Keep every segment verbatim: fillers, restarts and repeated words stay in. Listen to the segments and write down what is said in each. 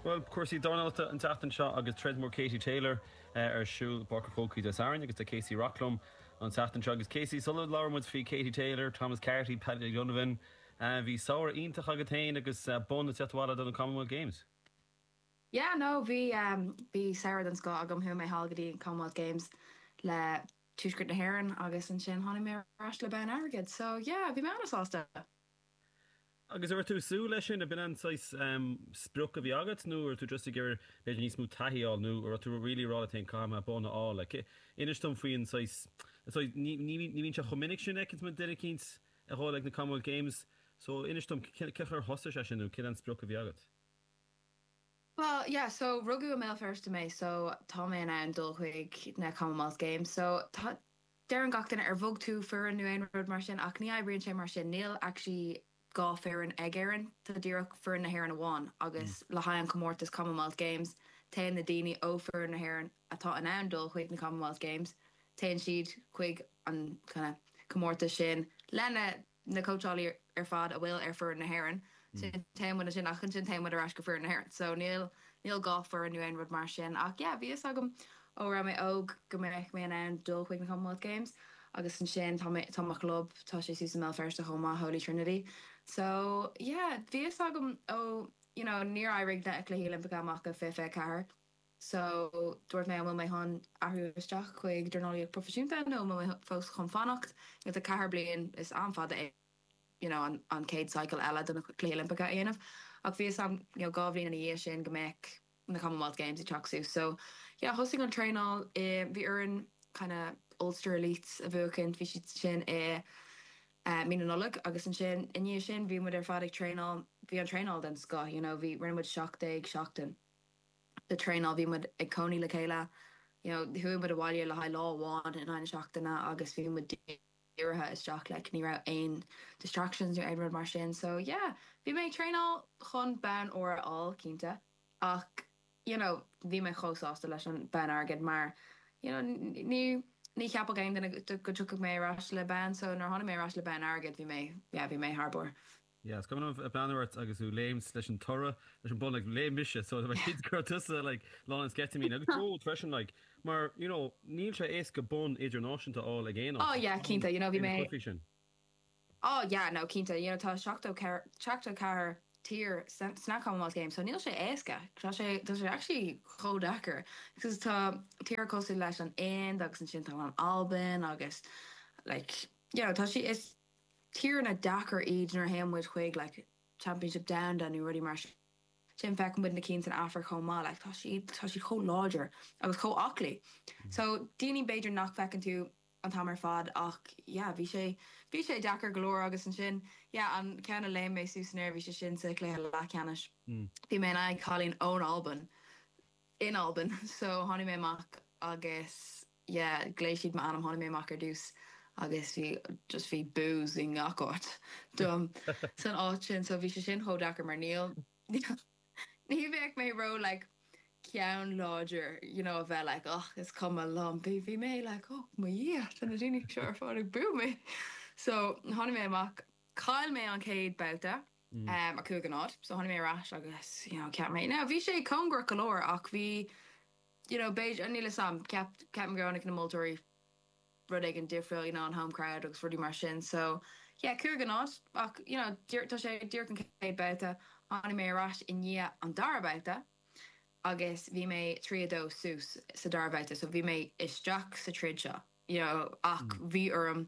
Bhuel, cúrsaí dornálaíochta an tseachtain seo agus troid mór Katie Taylor ar siúl i bPáirc an Chrócaigh Dé Sathairn agus tá Casey Rock liom an tseachtain seo agus Casey sula labhraíonn muid faoi Katie Taylor, Thomas Carty, Paddy Donovan, bhí samhradh iontach agat féin agus bonn ag teacht abhaile do na Commonwealth Games. Yeah, no, bhí um, bhí samhradh den scoth agam chuaigh mé thall go dtí Commonwealth Games le Tuaisceart na hÉireann agus ansin tháinig mé ar ais le bonn airgid, so yeah, bhí mé an-sásta. Agus ar tú súil leis sin a b'in an um, sprioc a bhí agat nó ar tú just ag iarraidh b'fhéidir níos mó taithí nó ar tú really rá tain cama bon á le inis dom faoin ní bhíonn sé chomh minic sin ag duine éicint a dhul ag na Commonwealth Games, so inis dom cén thosaigh sé sin nó cén an sprioc a bhí agat. Well, yeah, so rugadh i mBéal Feirste mé, so tá mé in ann dul chuig na Commonwealth Games, so tá deireann gach duine ar bhog tú foireann nó aon rud mar sin ach ní oibríonn sé mar sin níl actually dhá foireann ag Éirinn tá díreach foireann na hÉireann amháin agus le haghaidh an comórtas Commonwealth Games téann na daoine ó foireann na hÉireann atá in ann dul chuig na Commonwealth Games téann siad chuig an kind of comórtas sin lena na cóitseálaí ar fad a bhfuil ar foireann na hÉireann sin téann sin ach sin téann ar ais go foireann na hÉireann so níl níl dhá foireann nó aon rud mar sin ach yeah, bhí fhios agam ó raibh mé óg go mbeidh mé in ann dul chuig na Commonwealth Games agus ansin tá tá mo chlub tá sé suas i mBéal Feirste chomh maith Holy Trinity. So yeah, bhí fhios agam ó you know, níor éirigh na Cluichí Oilimpeacha amach go fiche fiche ceathair. So dúirt mé an bhfuil mé chun athrú isteach chuig dornálaíocht proifisiúnta nó mé fós chun fanacht agus a ceathair bliain is an-fhada é you know, an, an chéad cycle eile do na Cluichí Oilimpeacha a dhéanamh. Ach bhí am you know, dhá bhliain ina dhiaidh sin go mbeadh na Commonwealth Games ag teacht suas. So yeah, thosaigh an traenáil i bhí orainn kind of Ulster Elites a bhuachan bhí siad sin i uh, mí na Nollag agus ansin i ndiaidh sin bhí muid ar fad ag traenáil bhí an traenáil den scoth, you know, bhí rinne muid seacht déag seachtain de traenáil bhí muid ag cónaí le chéile you know, chuaigh muid abhaile le haghaidh lá amháin in aghaidh na seachtaine agus bhí muid dírithe isteach le ní raibh aon distractions nó aon rud mar sin so yeah bhí mé traenáil chun bonn óir a fháil cinnte ach you know bhí mé chomh sásta leis an bonn airgid mar you know ní ní cheapfadh aon duine go dtiocfadh mé ar ais le bonn so nuair tháinig mé ar ais le bonn airgid bhí mé yeah, bhí mé thar barr. Yeah, is cuimhin liom breathnú ort agus tú léimt leis an toradh leis an bonn like, léim mise so gur tusa like, lán an sceitimíní agus bród freisin like, mar you know, níl sé éasca bonn idirnáisiúnta a fháil ag aon Oh yeah, cinnte, you know bhí mé sin. Oh yeah, no cinnte, you know tá seachtó seachtó ceathair tír sna Commonwealth Games, so níl sé éasca tá sé tá sé actually chomh deacair because tá tír cosúil leis an Ind agus ansin tá an Albain agus like you know, tá sí is tíortha deacair iad nuair a théann muid chuig like championship down nó rudaí mar sin feiceann muid na cinn san Afraic chomh maith like tá siad tá siad chomh láidir agus chomh aclaí. So daoine b'fhéidir nach bhfeiceann tú an t-am ar fad ach yeah, bhí sé bhí sé deacair go leor agus ansin yeah, an ceann a léim mé suas in aer bhí sé sin sa chluiche leathcheannais. Mm. Bhí mé in aghaidh cailín ón Albain in Albain so tháinig mé amach agus yeah, ghlaoigh siad m'ainm tháinig mé amach ar dtús agus bhí just bhí boos i ngach áit dom san áit sin so bhí sé sin chomh deacair mar níl ní bheadh mé ró like ceann láidir you know a bheith like oh is cuma liom bhí bhí mé like oh mo Dhia tá na daoine seo ar fad ag bú mé so tháinig mé amach chaill mé an chéad babhta Mm. um, a cúig a náid so tháinig mé ar ais agus you know ceap mé now bhí sé cóngarach go leor ach bhí you know b'fhéidir níl a fhios agam ceap ceap go na moltóirí rud éigin difriúil you know an home crowd agus rudaí mar sin so yeah cúig a náid ach you know tá sé díreach an chéad babhta tháinig mé ar ais i ndiaidh an dara babhta agus bhí mé trí a dó suas sa dara babhta so bhí mé isteach sa troid seo you know ach Mm. bhí orm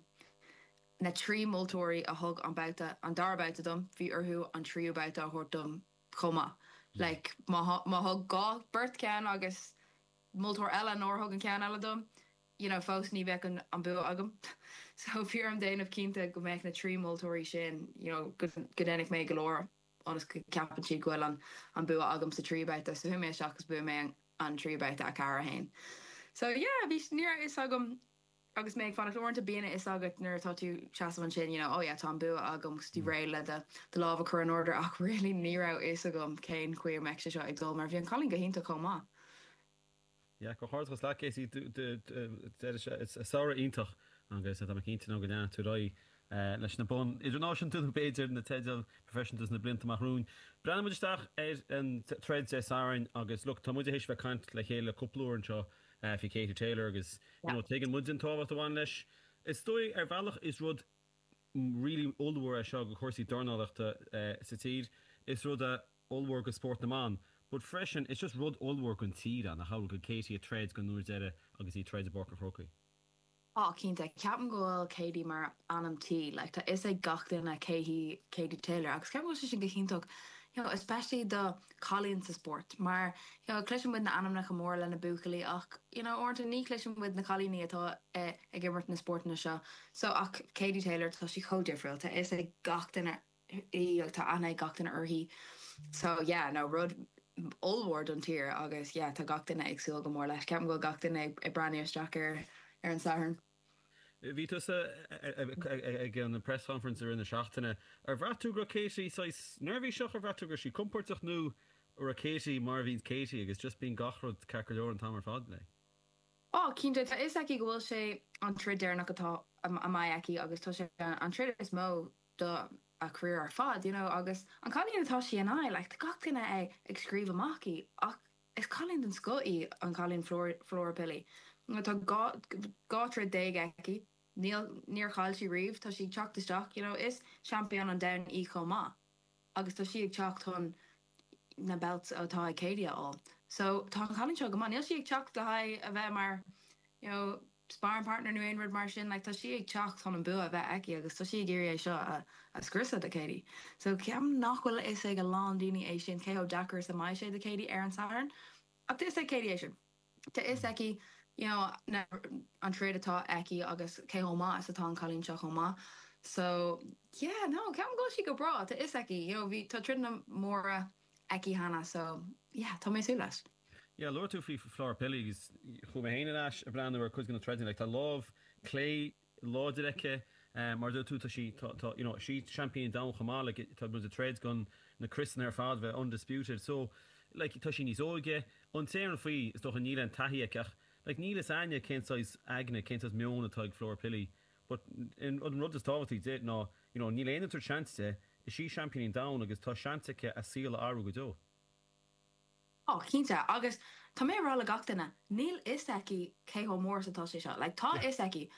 na trí moltóirí a thug an babhta an dara babhta dom bhí orthu an tríú babhta a thabhairt dom chomh maith Mm. like má má thug dhá beirt ceann agus moltóir eile nár thug an ceann eile dom you know fós ní bheadh an, an bua agam so bhí orm déanamh cinnte go mbeadh na trí moltóirí sin you know go go ndéanfadh mé go leor ionas go ceapann siad go bhfuil an an bua agam sa tríú babhta so chuaigh mé isteach agus bhuaigh mé an, an tríú babhta a ceathair a haon so yeah bhí ní raibh fhios agam agus mé ag fanacht uaireanta bíonn a fhios agat nuair atá tú seasamh ansin you know oh yeah tá an bua agam agus tú Mm. réidh le do do lámh a chur in airde ach really ní raibh fhios agam cén chaoi a mbeadh sé seo ag dul mar bhí an cailín go hiontach chomh maith. Ja go háirtas le céí samhradh iontach agus tá cinnte go lean tú roi leis na boinn idirnáisiúnta nó b'fhéidir na teidil proifisiúnta sna blianta amach romhainn. Breathnaíonn muid isteach ar an troid Dé Sathairn agus look, tá muid théis bheith ag caint le chéile cúpla uair anseo faoi Katie Taylor agus you know, tuigeann muid an tábhacht a bhain leis. Is dóigh ar bhealach is rud really ollmhór é seo go cúrsaí dornálaíochta sa tír. Is rud ollmhór go spórt na mban. But freisin, it's just rud ollmhór don tír an, nach bhfuil go Katie ag troid don uair deireadh agus í ag troid i bPáirc an Chrócaigh. Á, cinnte, ceapaim go bhfuil Katie mar ainm tí, like, tá fhios ag gach duine cé hí Katie Taylor agus ceapaim go bhfuil sé sin go hiontach, you know, especially do cailín sa spórt, mar, you know, cloiseann muid na ainmneacha móra le na buachaillí ach, you know, uaireanta ní chloiseann muid na cailíní atá eh, ag imirt na spórtanna seo. So ach Katie Taylor tá sí chomh difriúil, tá fhios ag gach duine í tá aithne ag gach duine uirthi. So yeah, no, rud ollmhór don tír agus yeah, tá gach duine ag súil go mór leis. Ceapaim go bhfuil gach duine ag ag breathnú isteach ar ar an Satharn. Bhí tusa ag an press conference ar na seachtaine. Ar bhraith tú go raibh Katie saghas neirbhíseach ar bhraith tú go raibh sí compordach nó raibh Katie mar a bhíonn Katie agus just bíonn gach rud ceart go leor an t-am ar fad léi. Ó, cinnte tá fhios aici go bhfuil sé an troid deireanach atá a mbeidh aici agus tá sé an troid is mó do a career ar fad, you know, agus an cailín atá sí in aghaidh, like, tá gach duine ag ag scríobh amach í ach is cailín den scoth í an cailín Flora Flora Pili. Tá dhá dhá troid déag aici, níl níor chaill sí riamh, tá sí ag teacht isteach, you know, is champion an domhain í chomh maith agus tá sí ag teacht chun na belts atá ag Katie a fháil. So tá an cailín seo go maith, níl sí ag teacht le haghaidh a bheith mar you know, sparring partner nó aon rud mar sin, like, tá sí ag teacht chun an bua a bheith aici agus tá sí ag iarraidh é seo a, a scriosadh de Katie. So ceapaim nach bhfuil fhios ag a lán daoine é sin cé chomh deacair is a mbeidh sé do Katie ar an Satharn. Ach tá fhios ag Katie é sin. Tá fhios aici you know, na, an troid atá aici agus cé chomh maith is atá an cailín seo chomh maith. So yeah, no, ceapaim go bhfuil sí go breá, tá fhios aici, you know, bhí tá troideanna móra aici cheana, so yeah, tá mé súil leis. Yeah, luaigh tú faoi Flora Pili agus chuaigh mé féin ar ais ag breathnú ar cuid de na troideanna, like, tá lámh clé láidir aici, um, mar dúirt tú tá sí tá, tá, you know, sí champion domhain chomh maith, like, tá muid ag troid chun na criosanna ar fad bheith undisputed. So like, tá sí níos óige, an t-aon faoi is dócha níl an taithí aici ach like, níl fhios againne cén saghas aigne, cén saghas meon atá ag Flora Pili. But in, an rud is tábhachtaí di ná you know, níl aon tar seans di, is sí champion domhain agus tá seans aici a saol a athrú go deo. Ó, cinnte, agus tá mé rá le gach duine, níl fhios aici cé chomh mór is atá sé seo. Like, tá fhios aici,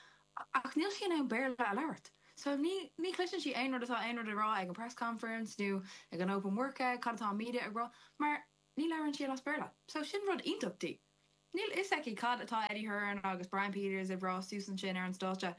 ach níl sí in ann Béarla a labhairt. So ní ní chloiseann sí aon rud atá aon rud a rá ag an press conference nó ag an open workout, cad atá an media ag rá, mar ní labhrann sí as Béarla. So sin rud iontach di. Níl fhios aici cad atá Eddie Hearn agus Brian Peters ag rá suas ansin ar an stáitse.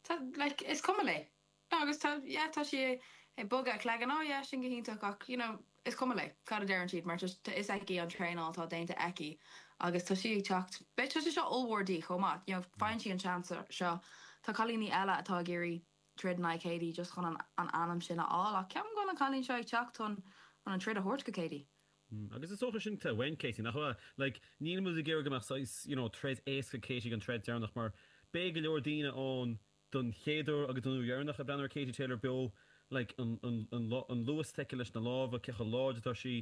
Tá like, is cuma léi. Agus tá yeah, tá sí ag bogadh a cloigeann oh yeah, sin go hiontach ach you know, is cuma léi cad a deireann siad mar tá fhios aici an traenáil atá déanta aici agus tá sí ag teacht Beidh tá sé seo ollmhór di chomh maith, you know, faigheann sí an seans seo Tá cailíní eile atá ag iarraidh troid in aghaidh Katie just chun an, an ainm sin a fháil ach ceapaim go bhfuil an cailín seo ag teacht chun chun an troid a thabhairt go Katie. Mm, agus is dócha sin te bhain Katie nach bhfuil like, níl muid ag iarraidh go mbeadh saghas you know, troid éasca Katie gan troid deireanach mar beidh go leor daoine ann don chéad uair agus don uair dheireanach ag breathnú ar Katie Taylor beo like, an, an, an, an luas atá aici leis na lámha cé chomh láidir atá sí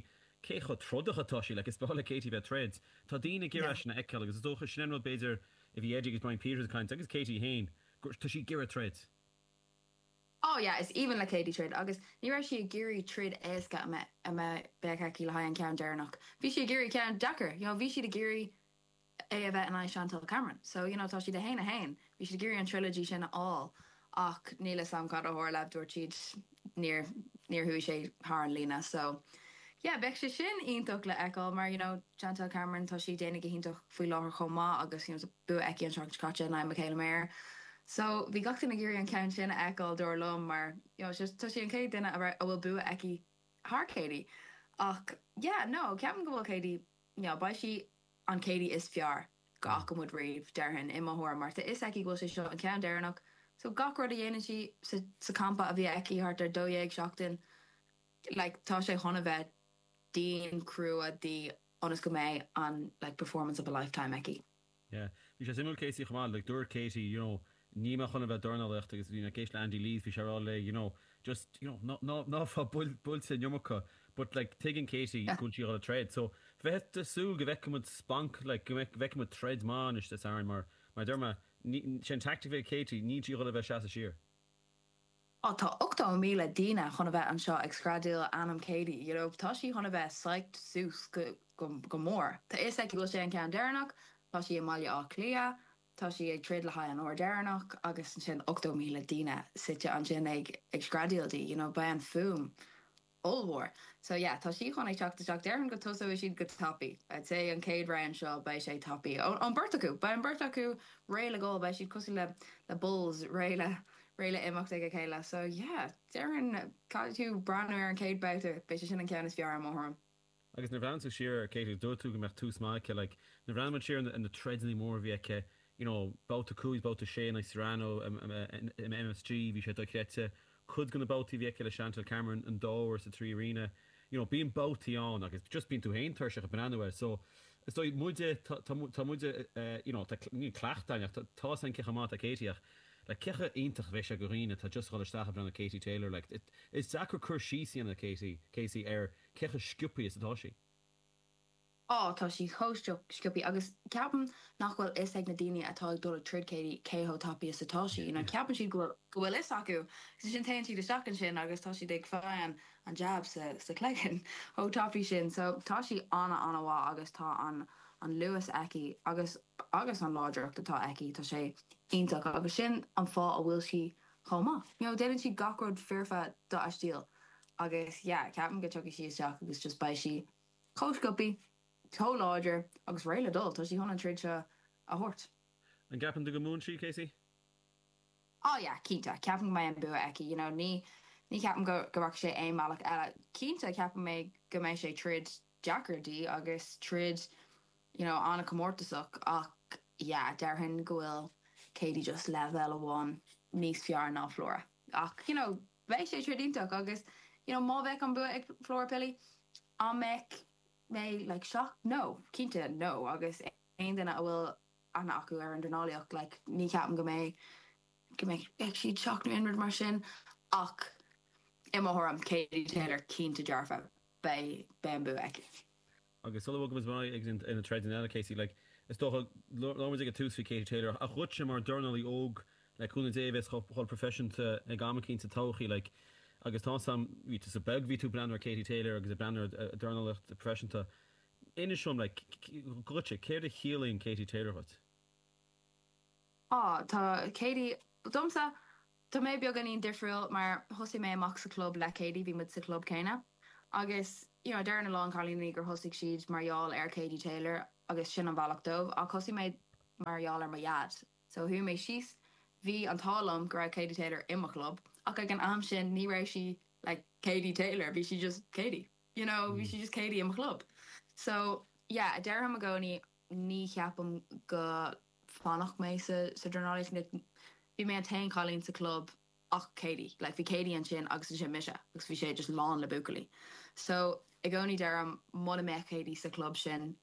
cé chomh trodach atá sí like, is breá le Katie bheith troid. Tá daoine ag iarraidh Yeah. sin a fheiceáil agus is dócha sin an rud b'fhéidir a bhí Eddie agus Brian Peters ag caint agus Katie féin tá sí ag iarraidh troid. Oh yeah, is aoibhinn le Katie troid agus ní raibh sí ag iarraidh troid éasca a mbeidh a mbeidh beidh aici le haghaidh an ceann deireanach. Bhí sí ag iarraidh ceann deacair, you know, bhí siad ag iarraidh é a bheith in aghaidh Chantel Cameron. So you know, tá siad a haon a haon. Bhí siad ag iarraidh an trilogy sin a fháil ach níl fhios agam cad a tharla dúirt siad níor níor chuaigh sé thar an líne. So yeah, beidh sé sin iontach le feiceáil mar you know, Chantel Cameron tá sí déanamh go hiontach faoi láthair chomh maith agus you know, bua aici an seachtain caite in aghaidh Mikaela Mayer. So bhí gach duine ag iarraidh an ceann sin a fheiceáil dar liom mar you know, just, tá sí an chéad duine a raibh- a bhfuil bua aici thar Katie. Ach yeah, no, ceapaim go bhfuil Katie you know, beidh sí an Katie is fearr go fhaca muid riamh déarfainn i mo thuairim mar tá fhios aici go bhfuil sé seo an ceann deireanach. So gach rud a dhéanann sí sa, sa campa a bhí aici thart ar dó dhéag seachtain, like, tá sé chun a bheith dian crua di ionas go mbeidh an like, performance of a lifetime aici. Yeah. Bhí sé suimiúil Casey chomh maith, like dúirt Katie, you know, ní mé chun a bheith dornálaíocht agus bhí na géis le Andy Lees bhí sé rá le, you know, just, you know, ná ná ná fá builte an iomarca, but like tuigeann Katie go bhfuil sí ag troid. So bheith de súil go bhfeicfimid splanc like go bhfeicfimid troid maith anois Dé Sathairn mar mar deir mé sin tactic bheith Katie níl sí ag dul a bheith seasamh siar. Oh, tá ochtó míle daoine chun a bheith anseo ag screadaíl ainm Katie, you know, tá sí chun a bheith psyched suas go, go, go mór. Tá is ag go bhfuil sé an ceann deireanach, tá sí i mBaile Átha Cliath, tá sí ag troid le haghaidh an uair deireanach agus ansin ochtó míle daoine suite ansin ag ag screadaíl di, you know, beidh an fuaim ollmhór. So yeah, tá sí chun ag teacht isteach déarfainn go tosóidh siad go tapaidh. I'd say an chéad round seo beidh sé tapaidh. Ón beirt acu, beidh an beirt acu réidh le goil, beidh siad cosúil le le bulls réidh le réidh le imeacht ag a chéile. So yeah, déarfainn caithfidh tú breathnú ar an chéad babhta, beidh sé sin an ceann is fearr i mo thuairim. Agus nuair a bhreathnaíonn tú siar ar Katie, dúirt tú go mbeadh tús maith aici, like, nuair a bhreathnaíonn muid siar ar na troideanna móra a bhí aici, you know, babhta cúig, babhta sé in aghaidh Serrano in M S G, bhí sé dochreidte. Cuid de na babhtaí a bhí aici le Chantelle Cameron an dá uair sa Three Arena, you know, bíonn babhtaí ann agus just bíonn tú féin tuirseach ag breathnú air. So, is dóigh muide, tá tá muide, you know, tá níl cleachtadh againn ach tá tá san cé chomh maith atá Katie ach like cé chomh iontach a bheidh sé do dhaoine atá just ag dul isteach ag breathnú Katie Taylor, like, it, is deacair cur síos a dhéanamh Katie, Casey ar cé chomh sciobtha is atá sí. Á, tá sí chomh sciobtha agus ceapaim nach bhfuil fhios ag na daoine atá ag dul ag troid Katie cé chomh tapaidh is atá sí. You know, ceapann siad go bhfuil go bhfuil fhios acu. Agus sin téann siad isteach ansin agus tá siad ag fáil an an jab sa sa chloigeann chomh tapaidh sin. So tá sí ana ana-mhaith agus tá an an luas aici agus agus an láidreacht atá aici tá sé iontach agus sin an fáth a bhfuil sí chomh maith. You know, déanann sí gach rud foirfe do a stíl agus yeah, ceapaim go dtiocfaidh sí isteach agus just beidh sí chomh sciobtha, chomh láidir agus réidh le dul, tá sí chun an troid seo a thabhairt. An gceapann tú go mbuann sí, Casey? Oh yeah, cinnte, ceapaim go mbeidh an bua aici, you know, ní ní ceapaim go go rachaidh sé aon bhealach eile. Cinnte ceapaim mé go mbeidh sé troid deacair di agus troid you know, an-chomórtasach ach yeah, déarfainn go bhfuil Katie just leibhéal amháin níos fearr ná Flora. Ach you know, beidh sé troid iontach agus you know, má bheadh an bua ag Flora Pili, an mbeadh mé like shocked? No, cinnte no agus aon duine a bhfuil aithne acu ar an dornálaíocht like, ní ceapaim go mbeidh go mbeidh siad shocked nó aon rud mar sin ach i mo thuairim Katie Taylor cinnte dearfa beidh beidh an bua aici. Agus sula bhfuil go ag ina troid eile Casey, like, is dócha labhair ag tús faoi Katie Taylor a chuid mar dornálaí óg le cúnamh Dé bheas chomh proifisiúnta ag am éicint sa todhchaí like, agus tá sam bhí tú sa beag bhí tú breathnú ar Katie Taylor agus ag breathnú ar dornálaíocht proifisiúnta. Inis dom like, duitse céard a chiallaíonn Katie Taylor dhuit? Á tá Katie domsa tá mé beagáinín difriúil mar thosaigh mé amach sa club le Katie bhí muid sa club céanna agus you know, deireann a lán cailíní gur thosaigh siad mar gheall ar Katie Taylor agus sin an bealach dóibh ach thosaigh mé mar gheall ar mo dhaid. So chuaigh mé síos bhí an t-ádh liom go raibh Katie Taylor i mo chlub ach ag an am sin ní raibh sí like Katie Taylor bhí sí just Katie. You know, bhí sí just Katie i mo chlub. So yeah, deirim i gcónaí ní cheapaim go bhfanfadh mé sa sa dornálaíocht bhí mé an t-aon chailín sa club ach Katie, like bhí Katie ansin agus sin mise agus bhí sé just lán le buachaillí. So i gcónaí deirim muna mbeadh Katie sa club sin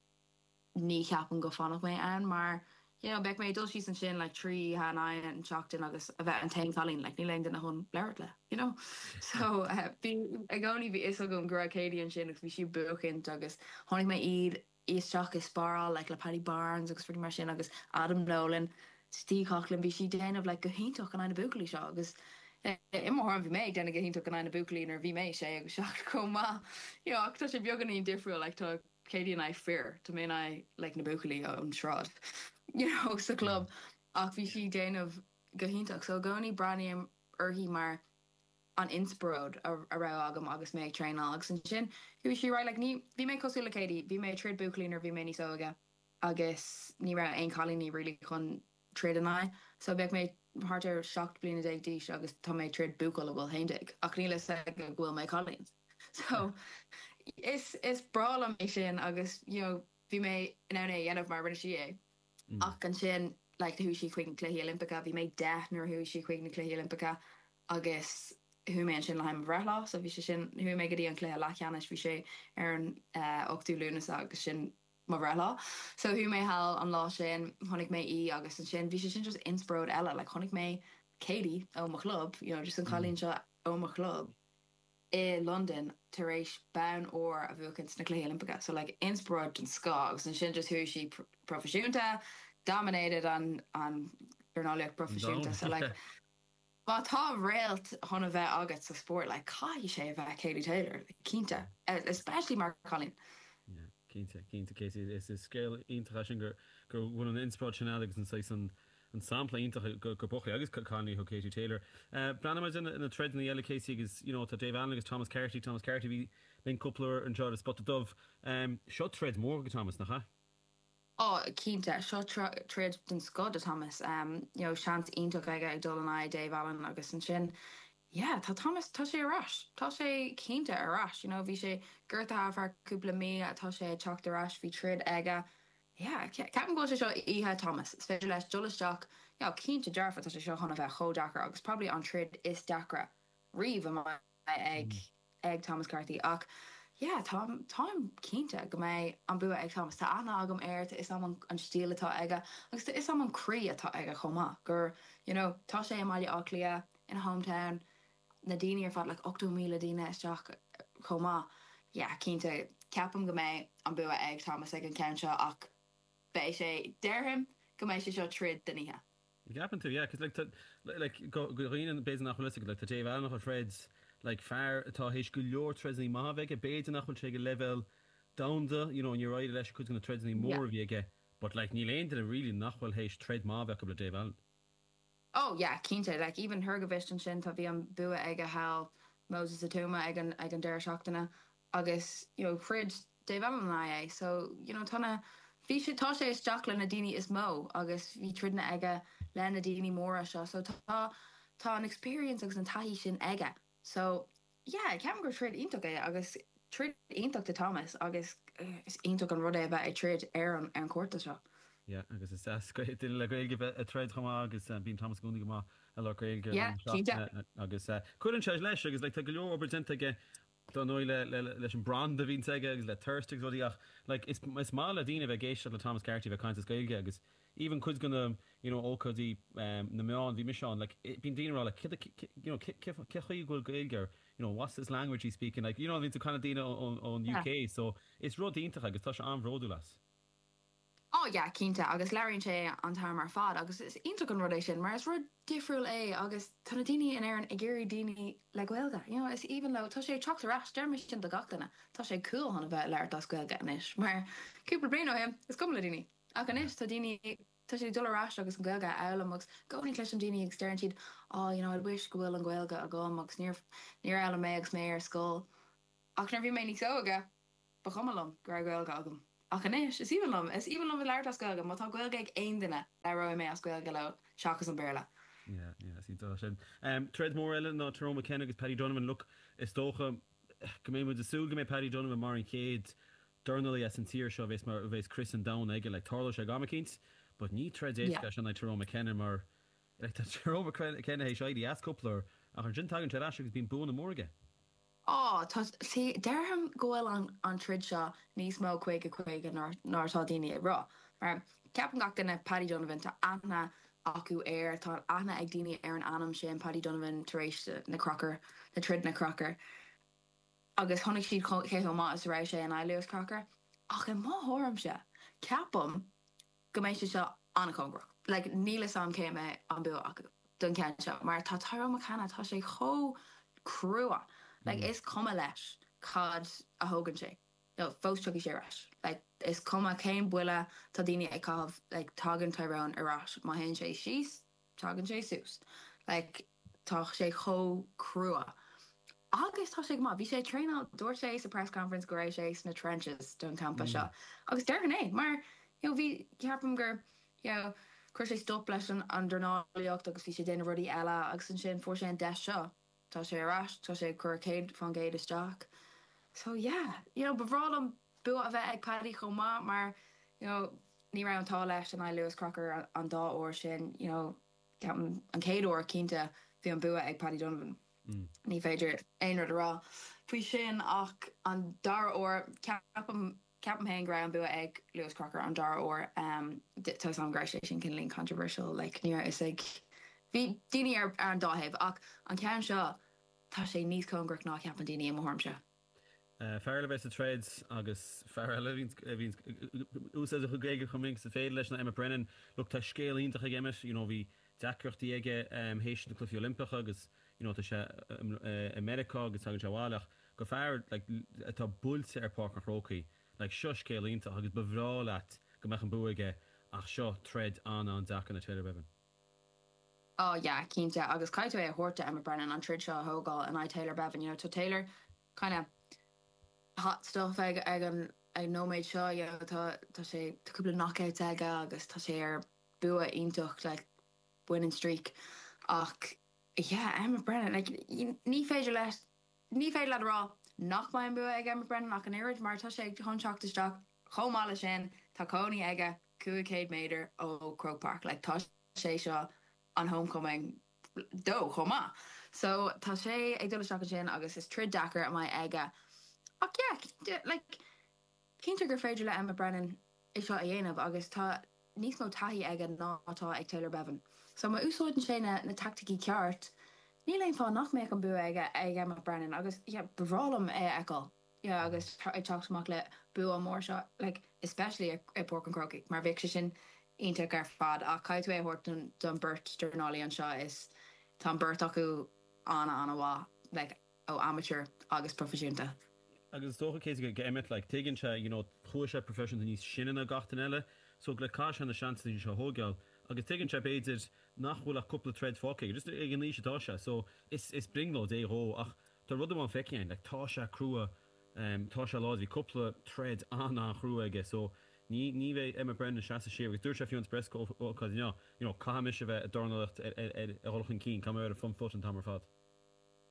ní cheapaim go bhfanfadh mé ann mar you know, beidh mé dul síos ansin like trí han an seachtain agus a bheith an t-aon chailín like níl aon duine chun labhairt le you know so uh, bhí i gcónaí bhí fhios agam go raibh Katie ansin agus bhí sí buachaint agus tháinig mé iad isteach i sparáil like le Paddy Barnes agus rudaí mar sin agus Adam Nolan Steve Coughlin bhí sí déanamh like go hiontach in aghaidh na buachaillí seo agus i mo thuairim bhí mé ag déanamh go hiontach in aghaidh na buachaillí nuair bhí mé sé agus seacht chomh maith you know, ach tá sé beagáinín difriúil like tá Katie in aghaidh fir tá mé in aghaidh like na buachaillí ón sráid you know sa club ach bhí sí déanamh go hiontach so i gcónaí breathnaím uirthi mar an inspioráid a, a raibh agam agus mé ag traenáil agus ansin bhí sí right like ní bhí mé cosúil le Katie bhí mé troid buachaillí nuair bhí mé níos óige agus ní raibh aon chailíní really chun troid in aghaidh so bheadh mé thart ar seacht bliana déag d'aois agus tá mé troid buachaill a bhfuil haon déag ach níl a fhios go bhfuil mé cailín so is is breá liom é sin agus you know bhí mé in ann é a dhéanamh mar rinne sí é ach ansin like chuaigh sí chuig na Cluichí Oilimpeacha bhí mé deich nuair a chuaigh sí chuig na Cluichí Oilimpeacha agus chuaigh mé ansin le haghaidh mo bhreithlá so bhí sé sin chuaigh mé go dtí an cluiche leathcheannais bhí sé ar an uh, ochtú Lúnasa agus sin mo bhreithlá so chuaigh mé thall an lá sin chonaic mé í agus ansin bhí sé sin just inspioráid eile like chonaic mé Katie ó mo chlub you know just an cailín seo ó mo chlub i London tar éis bonn óir a bhuachan sna Cluichí Oilimpeacha so like inspioráid den scoth agus ansin just chuaigh sí pr proifisiúnta dominated an an dornálaíocht proifisiúnta so like Má tá réalt chun a bheith agat sa spórt like caithfidh sé a bheith Katie Taylor like, cinnte especially mar cailín. Yeah, cinnte cinnte Casey is is scéal iontach sin gur gur bhfuil an inspioráid sin agus an saghas an an sampla iontach go go buchaillí agus cailíní ó Katie Taylor. Uh, Breathnaíonn na troideanna eile Casey agus you know, tá Dave Allen agus Thomas Carty Thomas Carty bhí linn cúpla uair anseo ar Spota Dubh. Um, seo troid mór go Thomas nach ea? Oh cinnte seo troid den scoth do Thomas um, you know, seans iontach aige ag dul in aghaidh Dave Allen agus ansin yeah, tá Thomas tá sé ar ais Tá sé cinnte ar ais you know, bhí sé gortaithe ar cúpla mí tá sé teacht ar ais bhí troid aige yeah, ceapaim go sé seo oíche Thomas is féidir leis dul isteach yeah, cinnte dearfa tá sé seo chun a bheith chomh deacair agus probably an troid is deacra riamh ag mm. ag Thomas Carthy ach yeah, tá táim cinnte go mbeidh an bua ag Thomas tá aithne agam air is am an stíl atá aige agus is am an croí atá aige chomh maith gur you know, tá sé i mBaile Átha Cliath in hometown na daoine ar fad like ochtó míle daoine isteach chomh maith. Yeah, cinnte ceapaim go mbeidh an bua ag Thomas ag an ceann seo ach beidh sé déarfainn go mbeidh sé seo troid den oíche. Ceapann tú yeah, cos like like go dhaoine b'fhéidir nach bhfuil like tá Dave Allen ag troid like fear atá théis go leor troideanna maithe aige b'fhéidir nach bhfuil sé go level domhanda you know ní raid leis chuid na troideanna mór a bhí aige but like níl aon duine really nach bhfuil théis troid maith bheith le Dave Allen. Oh yeah, cinnte like even Hrgovic ansin tá bhí an bua aige thall Moses Itauma ag an ag an deireadh seachtaine agus you know throid Dave Allen é so you know tá bhí sé tá sé isteach le na daoine is mó agus bhí troideanna aige le na daoine móra seo so tá tá an experience agus an taithí sin aige so yeah ceapaim gur troid iontach é agus troid iontach do Thomas agus uh, is iontach an rud é bheith ag troid ar an ar an cárta seo. Yeah, agus is deas duine le Gaeilge bheith ag troid chomh maith agus uh, bíonn Thomas gúna go maith a le Gaeilge Yeah, cinnte. agus uh, cuireann sé leis agus like, tá go leor obair déanta aige don nóí le, le, leis an brand a bhíonn aige agus le thirst agus rudaí ach like, is, is maith le daoine bheith ag éisteacht le Thomas Carty bheith caint as Gaeilge agus even cuid den na you know, ócáidí um, na meán bhí mise ann like, bíonn daoine rá like, you know, cé chaoi bhfuil Gaeilge you know, what's this language he's speaking like, you know, bhíonn kind of daoine ón UK so is rud iontach agus tá sé an-bhródúil as. Oh yeah, cinnte agus labhraíonn sé an t-am ar fad agus is iontach an rud é sin mar is rud difriúil é agus tá na daoine in Éirinn ag iarraidh daoine le Gaeilge. You know, is even though tá sé teacht ar ais deirim sin do gach duine tá sé cool chun a bheith labhairt as Gaeilge anois mar cúpla bliain ó shin is cuma le daoine. Ach anois tá daoine tá sé dul ar ais agus an Gaeilge a fhoghlaim agus gcónaí cloisim daoine agus deireann siad oh you know, I wish go bhfuil an Gaeilge agam agus níor níor fhoghlaim mé agus mé ar scoil. Ach nuair bhí mé níos óige ba chuma liom go raibh Gaeilge agam. Ach anois is aoibhinn liom is aoibhinn liom labhairt as Gaeilge má tá Gaeilge ag aon duine labhróidh mé as Gaeilge leo seachas an Béarla. Yeah, yeah, sí sin. Um, Troid mór eile ná Tyrone McKenna agus Paddy Donovan look is dócha go mbeidh muid ag súil go mbeidh Paddy Donovan mar an chéad dornálaí as an tír seo bheas mar bheas crios an domhain aige le tarlóidh sé go cinnte, but ní troid Yeah. éasca sin é Tyrone McKenna mar like, tá Tyrone McKenna théis éirí as cúpla uair ach ansin tagann sé ar ais agus bíonn buanna móra aige. Á tá sí déarfainn go bhfuil an an troid seo níos mó caoga caoga ná ná tá daoine ag rá. Mar ceapann gach duine Paddy Donovan tá aithne acu air tá aithne ag daoine ar an ainm sin Paddy Donovan tar éis na Crocker na troid na Crocker. Agus chonaic siad cé chomh maith is a raibh sé in aghaidh Lewis Crocker. Ach i mo thuairimse ceapaim go mbeidh sé seo an-chóngarach. Like níl a fhios agam cé mbeidh an bua acu don ceann seo, mar tá Tyrone McKenna tá sé chomh crua. Like is cuma leis cad a thógann sé. No, fós tiocfaidh sé ar ais. Like is cuma cén buille tá daoine ag caitheamh like tagann Tyrone ar ais má théann sé síos, tagann sé suas. Like tá sé chomh crua. Agus tá sé go maith, bhí sé traenáil dúirt sé sa press conference go raibh sé sna trenches don campa seo. Agus déarfainn é mar you know, bhí ceapaim gur you know, chuir sé stop leis an an dornálaíocht agus bhí sé déanamh rudaí eile agus ansin fuair sé an deis seo. Tá sé ar ais, tá sé chur céad faoin gcéad isteach. So yeah, you know, ba bhreá liom bua a bheith ag Paddy chomh maith mar you know, ní raibh an t-ádh leis in aghaidh Lewis Crocker an, an dá uair sin, you know, ceapaim an chéad uair cinnte bhí an bua ag Paddy Donovan. Mm. Ní féidir aon rud a rá faoi sin ach an dara huair ceapaim ceapaim féin go raibh an bua ag Lewis Crocker an dara huair um, tá an gra sé sin cineál controversial like, ní is ag bhí daoine ar, ar an dá thaobh ach an ceann seo tá sé níos cóngarach ná ceapann daoine i mo thuairimse. Uh, fear le bheith sa troid agus fear eile a bhíonn úsáid a Gaeilge chomh minic is féidir leis ná Emmet Brennan look tá scéal iontach ag Emmet you know bhí deacrachtaí aige théis na Cluichí Oilimpeacha agus you know tá sé i Meiriceá agus tagann sé abhaile ach go fear like atá buailte ar Páirc an Chrócaigh like seo scéal iontach agus ba bhreá leat go mbeadh an bua aige ach seo troid an-an-deacair do Taylor Bevan. Oh yeah, cinnte agus caithfidh tú é a thabhairt do Emmet Brennan an troid seo a thógáil in aghaidh Taylor Bevan, you know tá Taylor kind of hot stuff ag ag an ag nóiméad seo you know tá tá sé tá cúpla knockouts aige agus tá sé ar bua iontach like winning streak ach yeah Emmet Brennan like ní féidir leis ní féidir leat a rá nach mbeidh an bua ag Emmet Brennan ach an oiread mar tá sé chun teacht isteach chomh maith leis sin tá cónaí aige cúig chéad méadar ó Croke Park like tá sé seo an homecoming dó chomh maith. So tá sé ag dul isteach ansin agus is troid deacair a mbeidh aige. Ach yeah, like cinnte gur féidir le Emmet Brennan é seo a dhéanamh agus tá níos mó taithí aige ná atá ag Taylor Bevan. So má úsáideann sé na, na taicticí ceart, níl aon fáth nach mbeadh an bua aige ag Emmet Brennan agus yeah, ba bhreá liom é a fheiceáil. Yeah, agus ag teacht amach le bua mór seo, like, especially i Páirc an Chrócaigh, mar bheadh sé sin iontach ar fad ach caithfidh tú é a thabhairt don beirt dornálaí anseo is tá an beirt acu an-an-mhaith like, ó amateur agus proifisiúnta. Agus is dócha cé go Emmet like tuigeann sé you know chuaigh sé proifisiúnta níos sine ná gach duine eile so le caithfidh sé na seansanna seo a thógáil agus tuigeann sé b'fhéidir nach bhfuil ach cúpla troid fágtha aige just ag an aois atá sé so is is brionglóid é dhó ach tá rud amháin feicthe like tá sé crua um, tá sé láidir bhí cúpla troid an-an-chrua aige so ní ní bheidh Emmet Brennan seasamh siar agus dúirt sé fiú an press ócáid inniu you know caithfidh mise bheith ag dornálaíocht ar ar ar a dhul chun cinn caithfidh mé ar an front foot an t-am ar fad.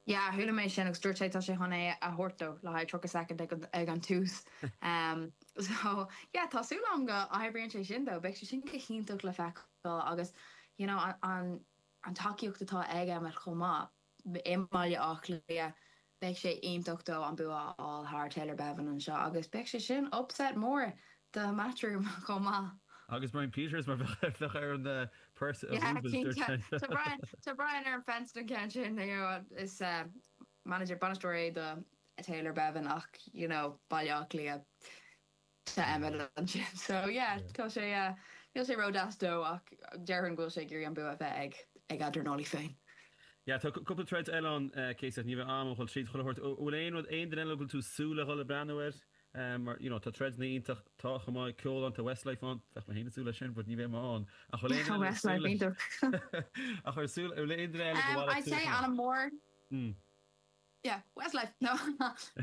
Yeah, chuala mé sin agus dúirt sé tá sé chun é a thabhairt dó le haghaidh tríocha second ag an, ag an tús. Um, so yeah, tá súil agam go oibríonn sé sin dó, beidh sé sin go hiontach le feiceáil agus you know, an, an, an tacaíocht atá ag Emmet chomh maith i mBaile Átha Cliath beidh sé iontach dó an bua a fháil thar Taylor Bevan anseo agus beidh sé sin upset mór do Matchroom chomh maith. Agus Brian Peters mar bheadh ar an uh, purse a Yeah, roubles dúirt cinnte. sé. Tá Brian Tá Brian ar an fence don ceann sin you know, is uh, manager bainisteoir é do Taylor Bevan ach you know, Baile Átha Cliath tá Emmet ansin. So yeah, tá sé uh, níl sé ródheas dó ach déarfainn go bhfuil sé ag iarraidh an bua a bheith ag ag a dhornálaí féin. Ja, tá cúpla troid eile ann Casey ní bheidh am chun tríd chun thabhairt bhfuil aon rud aon duine eile go bhfuil tú súil le dhul ag breathnú air um, mar you know, tá troideanna iontach tá chomh maith ceol ann tá Westlife ann bheadh mé féin ag súil leis sin, but ní bheidh mé ann ach bhfuil aon duine eile Westlife súil leis- iontach. ach ar súil bhfuil aon duine eile go Um, bhfuil I'd say Alan Moore. Mm. Yeah, Westlife. No,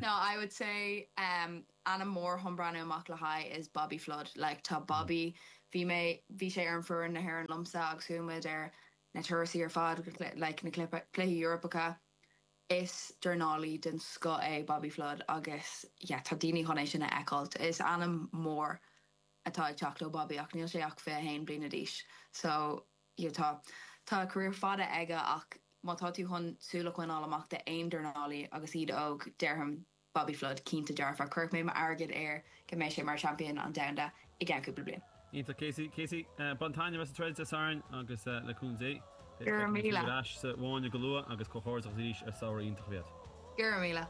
no, I would say um, ainm mór chun breathnú amach le haghaidh is Bobby Flood. Like tá Bobby bhí mé bhí sé ar an foireann na hÉireann liomsa agus chuaigh muid ar na turais ar fad like na cluichí Eorpacha. Is dornálaí den scoth é Bobby Flood agus yeah, tá daoine chun é sin a fheiceáil. Is ainm mór atá ag teacht ó Bobby ach níl sé ach fiche haon bliana d'aois. So yeah, tá tá career fada aige ach má tá tú chun súil a choinneáil amach de aon dornálaí agus iad óg déarfainn Bobby Flood cinnte dearfa chuirfeadh mé m'airgead air go mbeidh sé mar champion an domhanda i gceann cúpla bliain. Iontach Casey Casey uh, bain taitneamh as an troid Dé Sathairn agus uh, le cúnamh Dé. Go raibh míle. Ar ais sa bháine go luath agus comhghairdeas arís ar samhradh iontach bhéad. Gur míle.